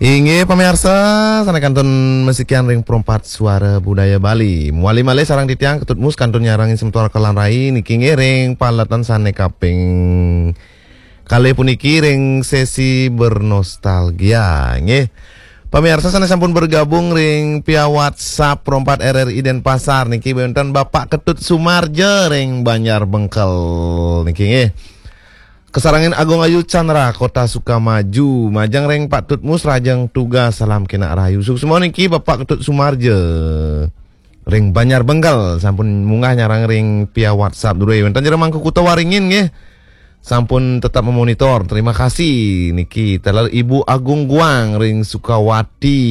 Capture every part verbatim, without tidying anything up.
Inggih pamiarsa, sané kantun masikian ring Perempat Suara Budaya Bali. Mawali malih sareng titiang Ketut Mus kantun nyarengin semeton Kelan Rai niki inggih ring paletan sané kaping kalih puniki ring sesi bernostalgia, nggih. Pamiarsa sané sampun bergabung ring via WhatsApp Perempat R R I Denpasar niki wénten Bapak Ketut Sumarja ring Banjar Bengkel niki, nggih. Kasarengin Agung Ayu Chandra, Kota Sukamaju, majeng ring Pak Tutmus, rahajeng tugas, salam kénak rahayu. Suksma niki Bapak Ketut Sumarja ring Banjar Bengkel, sampun munggah nyarengin ring via WhatsApp drué. Wénten jero Mangku Kuta Waringin nggih. Sampun tetap memonitor. Terima kasih niki. Taler Ibu Agung Guang ring Sukawati.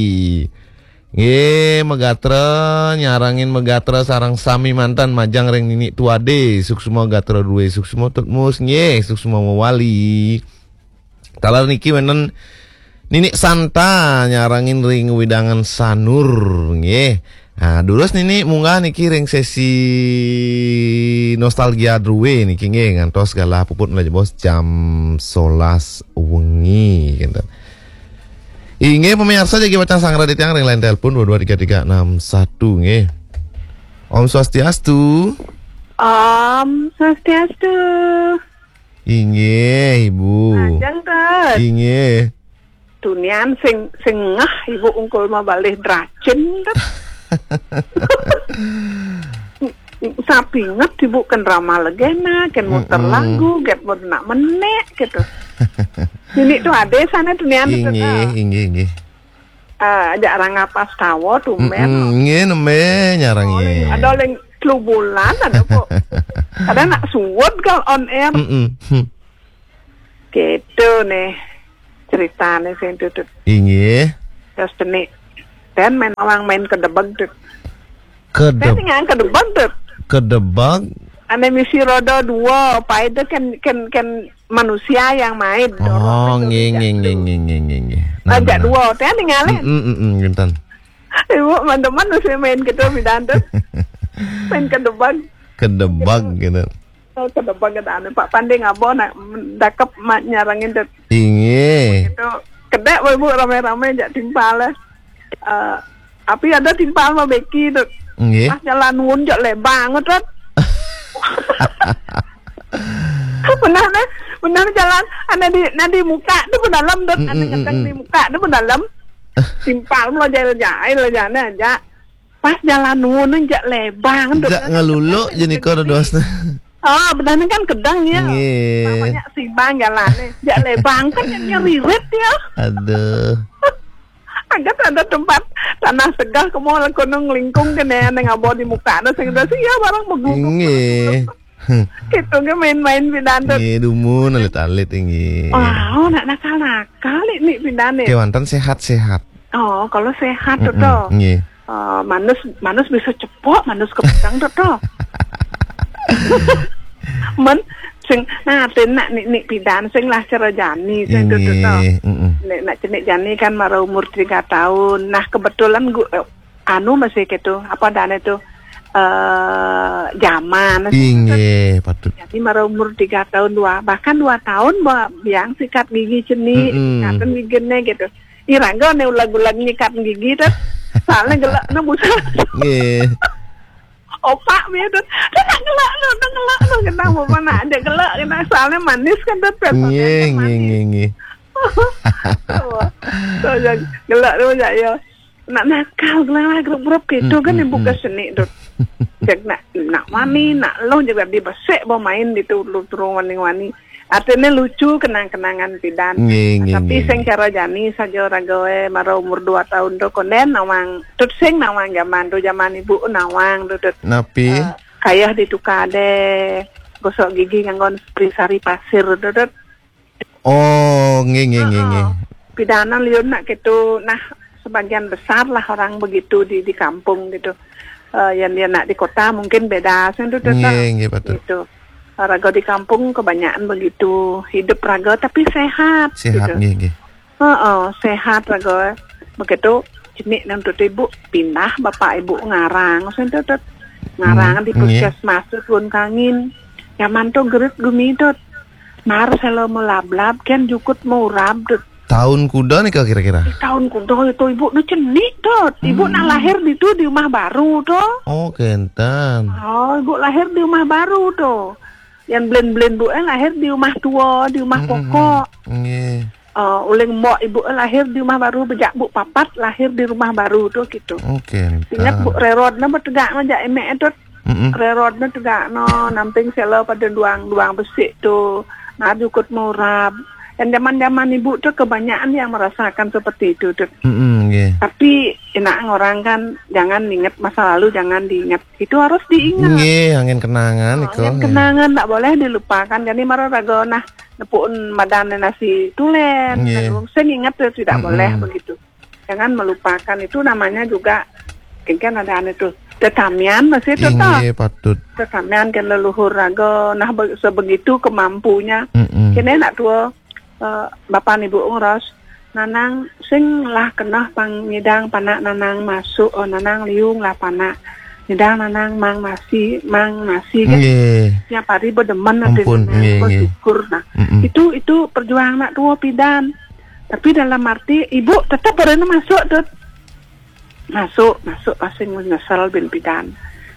Nggih, magatra, nyarengin magatra sareng sami manten majeng ring Nini Tuade, suksma gatra drué, suksma Tutmus, nggih, suksma mawali. Taler niki wénten Nini Santa nyarengin ring wewidangan Sanur, nggih. Nah, durus Nini munggah niki ring sesi nostalgia drué niki nggih ngantos galah puput malih jebos jam solas wengi, gitu. Inggih, pamiarsa jagi pacang sanggra titiang ring line telepon dua dua tiga tiga enam satu, nggih. Om Swastiastu. Om Swastiastu. Inggih, Ibu. Majeng, Tut. Inggih. Tunian sing, sing ngeh Ibu ungkul mabalih dracin, Tut. Sapinget Ibu kén rama legena, kén muter Mm-mm. lagu, kén mun nak menék gitu. Nini Tuade sané tunian, Tut, Inggih, ah. Inggih, inggih. Ah, ajak Rangga Pastawa tumbén. Mm-mm, nggih, nembé nyarengin. Oh, ada ling telu bulan ada kok. Kadang nak suwud kal on air. Mm-mm. Hmm. Gitu nih ceritané sing Tutut. Inggih. Terus teni. Dan main orang main kedebeg, Tut. Kedeb-, Saya tinggal kedebeg, Tut. Kedebeg. Ané misi roda dua, apa itu kan, kan, kan manusia yang main. Oh, nggih, nggih, nggih, nggih, nggih, nggih. Nah, ajak nah, nah. Dua, saya tinggalin. Mm, mm, mm, mm, ngénten. Ibu, teman-teman, saya main gitu, pidan, Tut. Main kedebeg. Kedebeg, gitu. Oh, kedebeg, gitu. Anu, Pak Pande ngaba, nak, dakep ma-, nyarengin, Tut. Inggih. Gitu. Kedék, Ibu, ramai-ramai, jak timpal, eh. Eh, api ada timpal mah beki, Tut. Nggih. Pas jalan nuun jak lebang, Tut. Benar, nah. Benar jalan. Ada di, nah, di muka tu pun dalam, Tut. Mm, ada mm, mm, ngeteng mm. Di muka tu pun dalam. Timpal mah jail-jail jana aja. Pas jalan nuun jak lebang, Tut. Jak ngaluluk je nika dosna. Ah, benar ni kan kedang ya. Nggih. Namanya sibang jalan ni. Jak lebang kan yang nyeririt ya. Aduh. Agak ada tempat tanah segar ke mall kono nglingkung kene nang abo di muka na sing ada sih ya barang begugup. Nggih. Gitu ke main-main pidan tu. Nggih, dumun alit-alit nggih. Oh, nak nakal-nakal ni pidan ni. Kewanten sehat-sehat. Oh, kalau sehat tu Mm-mm, tu. Nggih. Eh, manus, manus bisa cepok, manus kepedang tu tu. Men, sing, nah, ten nak ni, ni pidan, sing lah cara jani, sing tu tu tu. Nggih, mm-mm. Nek nak cenik jani kan mara umur tiga tahun. Nah, kebetulan gu-, eh, anu masih gitu, apa dane tu, eh, zaman. Inggih, patut. Jadi mara umur tiga tahun, dua, bahkan dua tahun ba-, biang sikat gigi cenik, Mm-mm. Sikatan gigine gitu. Iraga ne ulag-ulag nyikat gigi tu. Soalnya gelak ne busa. Nggih. Opak dia tu. Dia nak gelak tu, nak gelak tu. Kena apa nak dia gelak, kena soalnya manis kan tu. Nggih, nggih, nggih, nggih. So, yang gelak tu jak ya. Nak nakal, gelak grup-grup gitu kan. Mm, mm, ibu mm. Ke seni tu. Jak nak, nak wani, nak lo juga di besek bawa main di tu, lu turun wani-wani. Artinya lucu kenang-kenangan pidan. Nggih, nggih, tapi nggih, sing nggih. Cara jani saja ragae mara umur dua tahun tu konden nawang, tut sing nawang zaman tu, zaman ibu nawang tu, tut. Napi? Eh, kayah ditukar deh, gosok gigi nganggo sari-sari pasir tu, tut. Oh, nggih, nggih, nggih, nggih. Heeh. Pidanan liun nak gitu. Nah, sebagian besar lah orang begitu di, di kampung gitu. Eh, yang dia nak di kota mungkin beda, sing tu, tut. Nggih, nggih, patut. Gitu. Raga di kampung kebanyakan begitu. Hidup raga tapi sehat, sehat, gitu. Nggih, nggih. Heeh, sehat raga. Begitu cenik nang tu ibu pindah, bapak ibu ngarang, sing tu, tut. Ngarang. Hmm, di nggih. Puskesmas tu Tuan Kangin. Zaman tu gerit gumi tu. Mar selo melablab, kian jukut mau urab tu. Tahun kuda nih, Kak, kira-kira? Di tahun kuda itu ibu nu cenik tuh. Ibu nak lahir di tu di rumah baru tuh. Oh, kenten. Oh, ibu lahir di rumah baru tuh. Yang belen-belen bu eh lahir di rumah tua, di rumah pokok. Nggih. Eh, uling mbok ibu eh lahir di rumah baru, bejak bu papat lahir di rumah baru tuh gitu. Oh, kenten. Ingat bu, rerod na betegak ngajak emek itu. Mm-mm. Rerod na tegak no, namping sela pada duang, duang besik tu. Nah, jukut murab. Yang zaman-zaman ibu tu kebanyakan yang merasakan seperti itu tu. Mm-mm, nggih. Tapi enak orang kan, jangan ingat masa lalu, jangan diingat. Itu harus diingat. Nggih, angin kenangan. Oh, itu angin kenangan tak boleh dilupakan. Jadi mara raga nah nepukin madan nasi tulen. Nggih. Lalu saya ingat tu tidak boleh begitu. Jangan melupakan, itu namanya juga kan ada anu tu. Tetamian masih tu toh. Inggih, patut. Tetamian kan leluhur raga. Nah, be- sebegitu kemampunya. Mm-mm. Kene nak tua, eh, bapa ibu ngeros, nanang sing lah kena pang nyidang panak nanang masuk, oh, nanang liung lah panak. Nyidang nanang mang nasi, mang nasi kan. Nggih. Tiap hari berdemen nanti. Ampun, nanang nggih, nggih. Bersyukur. Nah, mm-mm. Itu, itu perjuangan nak tua pidan. Tapi dalam arti ibu tetap pernah masuk tu. Masuk, masuk pasing nyesel bin pidan.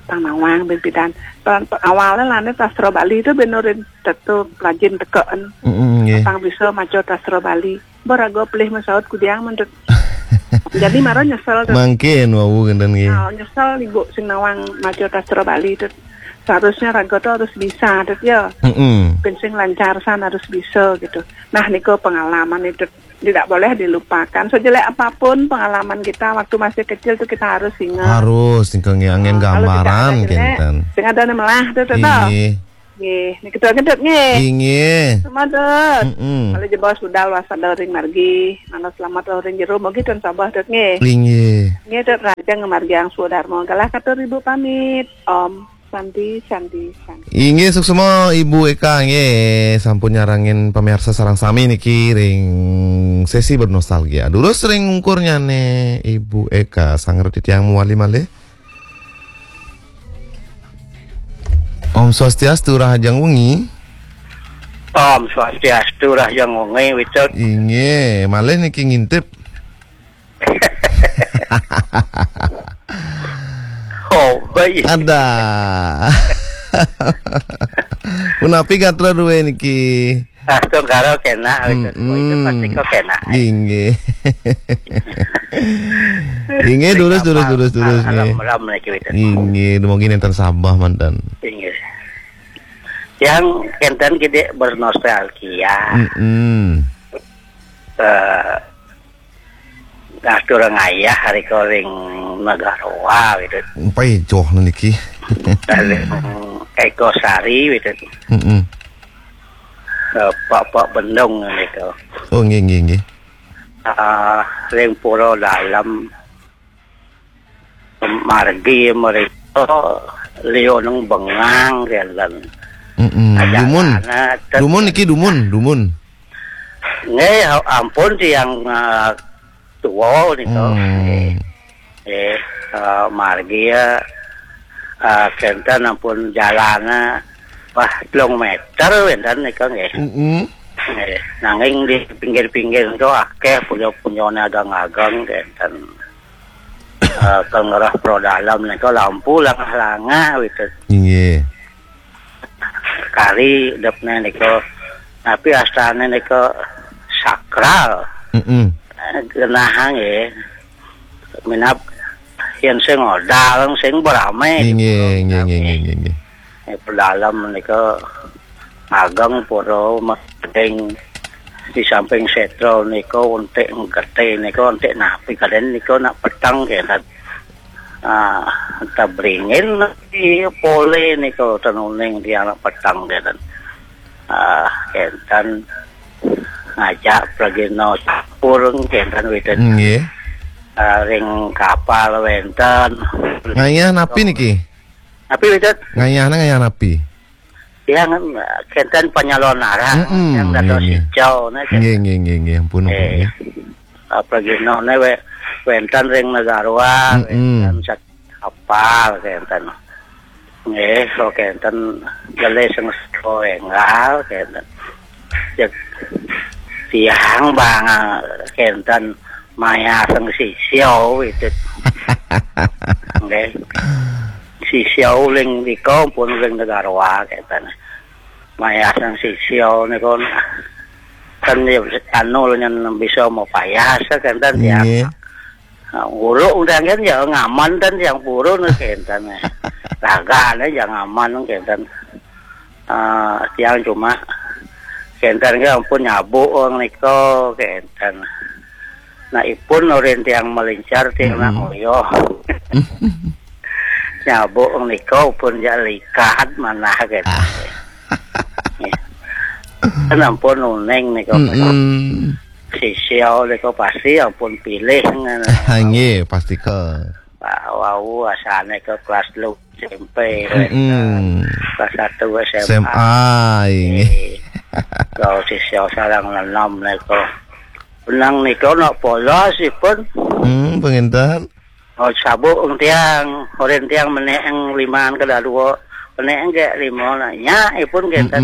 Pang nawang bin pidan. Awalnya lane sastra Bali tu benurin tetu pelajin tekaan. Mm-mm, nggih. Pang bisa maca sastra Bali. Beraga pelih masaut kudiang mendut. Jadi mara nyesel tu. Mangkin wau kenten nggih. Oh, nyesel ibu sing nawang maca sastra Bali tu. Seharusnya raga tu harus bisa tu ya. Mm-mm. Pin sing lancar san harus bisa gitu. Nah, niku pengalaman itu tidak boleh dilupakan. Sejelek apapun pengalaman kita waktu masih kecil tuh kita harus ingat. Harus, niku nggih angin gambaran kenten. Sing ada melah tuh, tuh. Nggih. Nggih, niki tuh ngedut nggih. Nggih. Semua tuh. Mm-mm. Kalau jebos budal wasada ring margi, mana selamat ring jero, mugi ten sabah tuh nggih. Nggih. Nggih, tuh rajang margi ang sudarma. Galah katur ibu pamit. Om. Santi, Santi, Santi. Inggih, suksma Ibu Eka, nggih, sampun nyarengin pamiarsa sareng sami niki ring sesi bernostalgia. Durus ring ungkurnyane Ibu Eka, sanget titiang mawali malih. Om Swastiastu, rahajeng wengi. Om Swastiastu, rahajeng wengi, Wicet. Inggih, malih niki ngintip. Oh, baik. Ada. Punapi gatra duwe niki? Ah, tungkara kena, itu pasti kok kena. Inggih. Inggih, durus, durus, durus, durus, nggih. Ram, ram niki, Wicet. Inggih, dumugi nenten sabah manten. Inggih. Yang kenten gede bernostalgia. Mm-mm. Eh, Nah, turang ayah hari koring Nagaroa gitu. Pai joh niki. Eko Sari gitu. Mm-mm. Eh, Pak Pak Bendong gitu. Oh, nggih, nggih, nggih. Ah, ring Pura Dalem margi mereka Lioneng Bengang kenten. Mm-mm. Dumun. Dumun niki dumun, dumun. Nggih, ampun tiang, eh, tua nika. Hmm. Nggih, eh, margi ya, eh, kenten ampun jalane wah telung meter wenten nika nggih. Mm-mm. Nggih, nanging di pinggir-pinggir nika akeh punya-punyane ageng-ageng kenten. Eh, ke ngerah pro dalam nika lampu langah-langah gitu. Nggih. Kari depne nika. Tapi astane nika sakral. Mm-mm. Eh, genah nggih. Minab yen sing odal, sing berame. Nggih, nggih, nggih, nggih, nggih. Eh, pedalem menika ageng para meding di samping setra nika untik getih nika untik napi kalian nika nak peteng ya kan. Ah, tabringin di pole nika tenuning di anak peteng ya kan. Ah, kenten ngajak pragina campur kenten witen. Nggih. Ah, ring kapal wenten. Ngayah napi niki? Napi witen? Ngayahna ngayah napi? Yang kenten penyalon arah, mm-mm, yang dados nggih, nggih. Hijau, nah, nggih, nggih, nggih, nggih, ampun, ampun, eh, nggih. Apa gino, ne we-, wenten ring Nagaroa, mm-mm, wenten sak kapal, kenten. Nggih, so kenten gelih sing sego enggal, kenten. Cek, Tiang bang, ah, kenten mayasang sisya, itu. Nggih. Sisya ring nika pun ring Tegaroa kenten. Mayasang sisya niku kan ya anu nyen bisa mapayas kenten tiang. Nggih. Ah, guru undang kan ya ngaman ten tiang purun kenten. Ragane ya ngaman kenten. Ah, tiang cuma kenten ke ampun nyabuk wong nika kenten. Nah, ipun orin tiang melincar tiang nak ngoyo. Nyabuk wong nika pun ya likat manah kenten. Kan ampun uning nika. Sisya nika pasti ampun pilih ngono. Nggih, pastika. Pak wau asane ke kelas telu S M P, kelas satu S M A. S M A, nggih. Kalau sisya sareng nenem nika. Benang nika nak polos ipun. Hmm, penginten. Oh, sabuk tiang, orin tiang menek liman kedadua. Menek ke lima nak nya ipun kenten.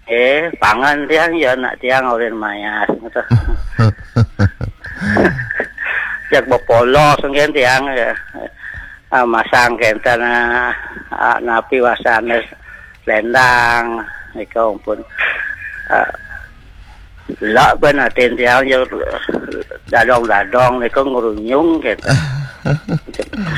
Eh, pangan tiang ya nak tiang orin mayas gitu. Jak bepolos mungkin tiang ya. Ah, masang kenten, ah, ah, napi wasane lendang nika pun. Ah, lak ben atin tiang ya dadong-dadong nika ngrunyung kenten.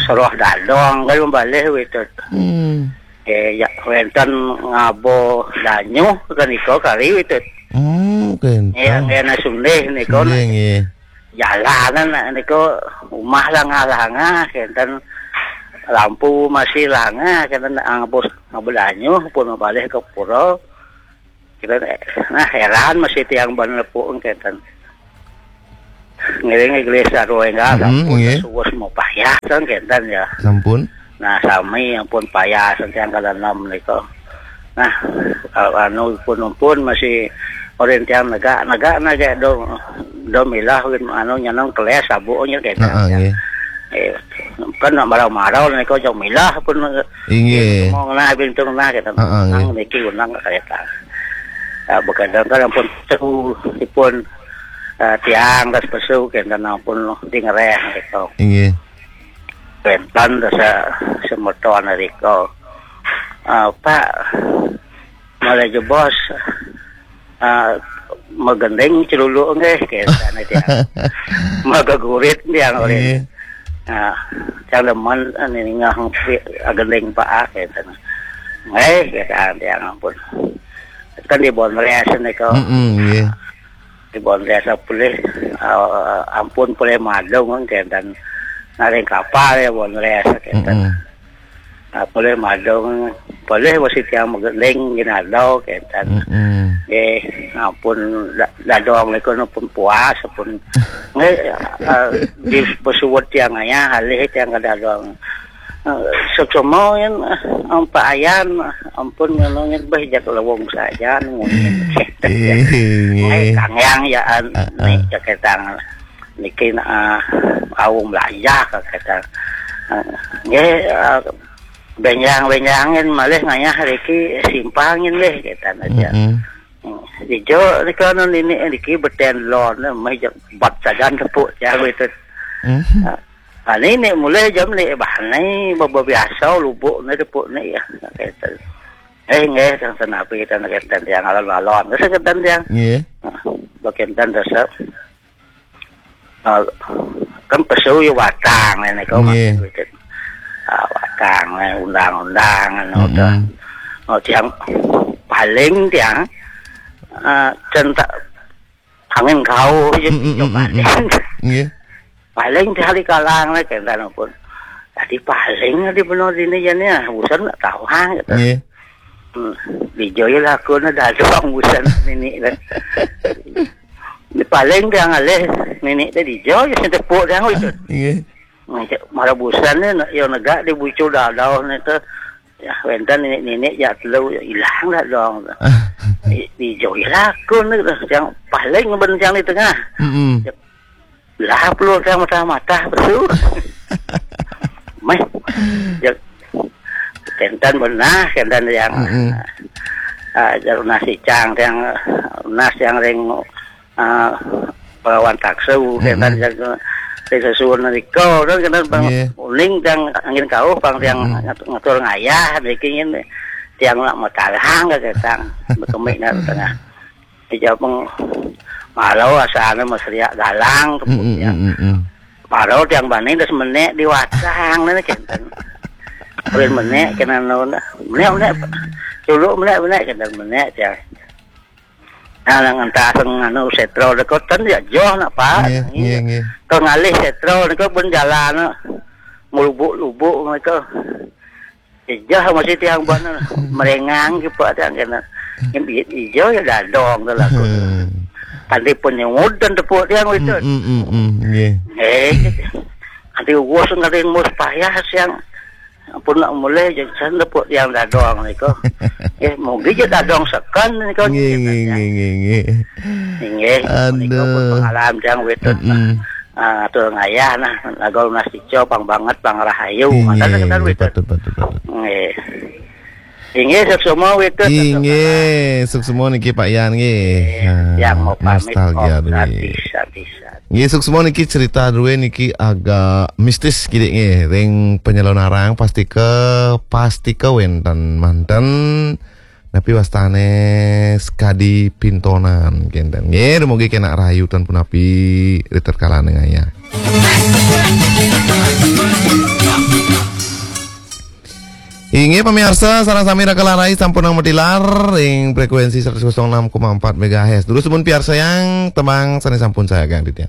Seroh dadong kan balih witut. Hmm. Eh, ya, wenten ngabo danyuh kenika kari witut. Hmm, kenten. Ya, ngena sundih nika. Sundih, nggih. Jalanan nika umah langah-langah, kenten lampu masih langah, kenten ngabo, ngabo danyuh pun balih ke pura. Kita, nah, heran masih tiang ban lepuk kenten. Ngiring gelis sarua enggak, sampun nggih. Suwus mau payah kan kenten ya. Sampun. Nah, sami ampun payah tiang kalenem nika. Nah, anu pun masih orin tiang negak, negak, negak do, do milah anu nyeneng keles sabuknya kenten. Heeh, nggih. Eh, kan nak marau-marau nika jauh milah pun. Inggih. Bintung nah, bintung nah kenten. Heeh, nggih. Nang niki unang kereta. Ah, begadang kan ampun seru ipun, ah, tiang das pesu kenten ampun di ngereh gitu. Inggih. Kenten das semeton riko. Ah, Pak, malah jebos, ah, magending celuluk nggih kenten tiang. Magagurit tiang oleh. Inggih. Nah, tiang demen, ah, ningeh agending Pak, ah, kenten. Nggih, kenten tiang ampun. Kan di Bonres nika. Mm-mm, nggih. Di Bonres pulih, eh, ampun pulih madung kenten. Naring kapal ya Bonres kenten. Mm-mm. Nah, pulih madung, pulih masih tiang magending ginado kenten. Mm-mm. Nggih, ampun da-, dadong nika pun puas pun. Nggih, eh, di pesuwut tiang ayah, alih tiang ke dadong. Eh, sesama yen, eh, ampa ayan, ampun ngono yen beh jak lewung sajan ngono. Eh, nggih. Eh, Kang Yang ya, ah, nek ah. Ceketang niki nak, ah, au melajah ceketang. Eh, nggih, eh, benjang-benjangin malih ngayah riki simpangin nggih ketan aja. Mm-mm. Ijo rika anu nini riki beten lon meh jak bat sajan tepuk jago itu. Mm. Ah, Ane nek mulai jam nek bahane baba biasa lubuk ne tepuk ne ya. Keten. Eh, nggih, tang senapi tang keten tiang alon-alon. Kesen keten tiang. Nggih. Nah, bakenten resep. Ah, kan pesu ya watang ne kau. Nggih. Maksud keten. Ah, watang ne undang-undang anu. Mm-mm. Dah. Oh, tiang paling tiang, ah, centak angin kau je. Mm, mm, mm, coba mm, mm. Nggih. Paling sehari kalang lah kenten pun. Tadi paling di benar dini jani ah, busan nak tahu ha gitu. Nggih. Hmm. Di Joy lah aku nak dadong busan nini lah. Di paling dia ngalih nini teh di Joy sing tepuk dia itu. Nggih. Ngecek marah busan ni nak yang negak di bucu dadau ni tu. Ya, wenten nini-nini ya telu ya ilang dah dong. Di, di Joy lah aku ni yang paling bencang di tengah. Mm-mm. Lah, perlu saya matah-matah betul. Meh. Ya, kenten benah, kenten yang, mm-mm, ah, jar nasi cang, yang nas yang ring, ah, pelawan taksa, mm-mm, kan, yang, eh, sesuun nika, kan, kan, bang, nggih, uning tiang angin kauh, bang, tiang, mm-mm, ngatur, ngatur ngayah, niki ingin tiang nak matalang ke ketang, berkemik nak tengah. Dijawab, "Malu asana meseriak galang," mm-mm, kemudian. Mm-mm. Malu tiang bani terus menek di watang, nana kenten. Ulin menek, kena nona. Menek, menek. Dulu menek, menek, kenten menek, tiang. Nah, nang entah sing anu setro dekat kan ya joh nak, Pak. Nggih, nggih, nggih. Kau ngalih setro dekat pun jalan, mulubuk-lubuk mereka. Ijah masih tiang bana merengang ke Pak tiang kena. Yang biit ijah ya dadong tu lah. Hmm. Tadi penyemut dan tepuk tiang itu. Hmm, hmm, hmm, hmm. Nggih. Eh, nanti ugus ngading mus payah siang. Pun nak mulai je san tepuk tiang dadong ni ko. Eh, mungkin je dadong sekan ni ko. Nggih, nggih, nggih, nggih, nggih. Nggih. Aduh. Pengalaman tiang itu. Hmm. Ah, atur ngayah nah, lagu lunas ijo pang banget, pang rahayu. Mantap, nggih, kan, nggih, betul, patut, patut, patut. Nggih. Inggih, suksma wektu. Inggih, suksma niki Pak Yan nggih. Nggih, ah, yang mau pamit, nostalgia Om, duwe. Sadis, sadis, sadis. Nggih, suksma niki cerita duwe niki agak mistis kidik nggih. Ring penyelonarang pasti ke, pasti ke wenten manten. Napi wastane Skadi Pintonan kenten. Nggih, dumugi kenak rahayu tan punapi ritatkala ngayah. Inggih pamiarsa, sareng sami raka larai sampun matilar ing frekuensi seratus enam koma empat megahertz. Durus pun piarsayang tembang sane sampun saya Kang Ditya.